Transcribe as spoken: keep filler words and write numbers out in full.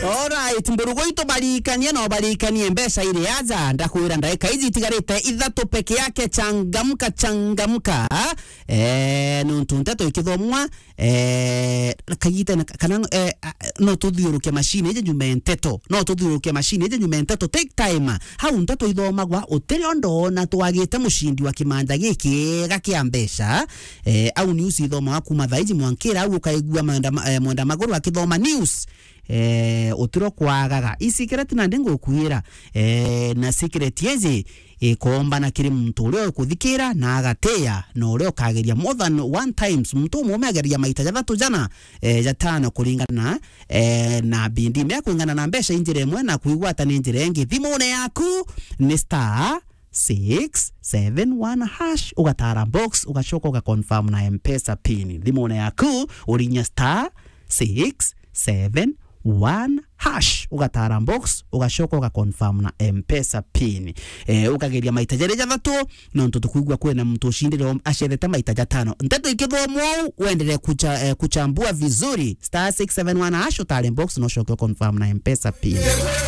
Alright, mburugu itu barikanie, no barikanie mbeca iri aja. Ndakwira ndagika iji itigarite ithatu peke yake. Changamka, changamka. Eh, nuntu nteto ikithomwa, eh, kagitene ka-, kana, eh, a-, no tuthiuruke machine iji nyume nteto. No tuthiuruke machine iji nyume nteto. Take time. Hau nteto ithomagwa, utiri ondo ona twagite mucindi wa kimanja gikiega kia mbeca. Eh, au news ithomagwa kuma thaa iji mwankira, au ukaigua mwenda ma-, eh, mwenda maguru akithoma news. Eh, utiro kwagaga. I secret nandi ngukwira, eh, na secret iji ikombana kiri muntu uria ukuthikira na agatia, na uria ukageria more than one times. Muntu umume ageria maita jathatu jana, eh, jatano kuringana na, eh, na bindi mea kuringana na mbeca i njira imwe na kwigwata ni njira ingi. Thimune yaku ni star six seven one hash, ugatara box, ugacoka ugaconfirm na M-Pesa pin. Thimune yaku urinya star six seven one hash, ugatara box, ugacoka ugaconfirm na M-Pesa pin. Eh, ukageria maita jari jathatu, nontu tukwigua kwina muntu ucindire acethete maita jatano. Nteto ikithomwa uu, wendere kucha-, eh, kuchambua vizuri. Star six seven one hash, utare box, no ucoke uconfirm na M-Pesa pin.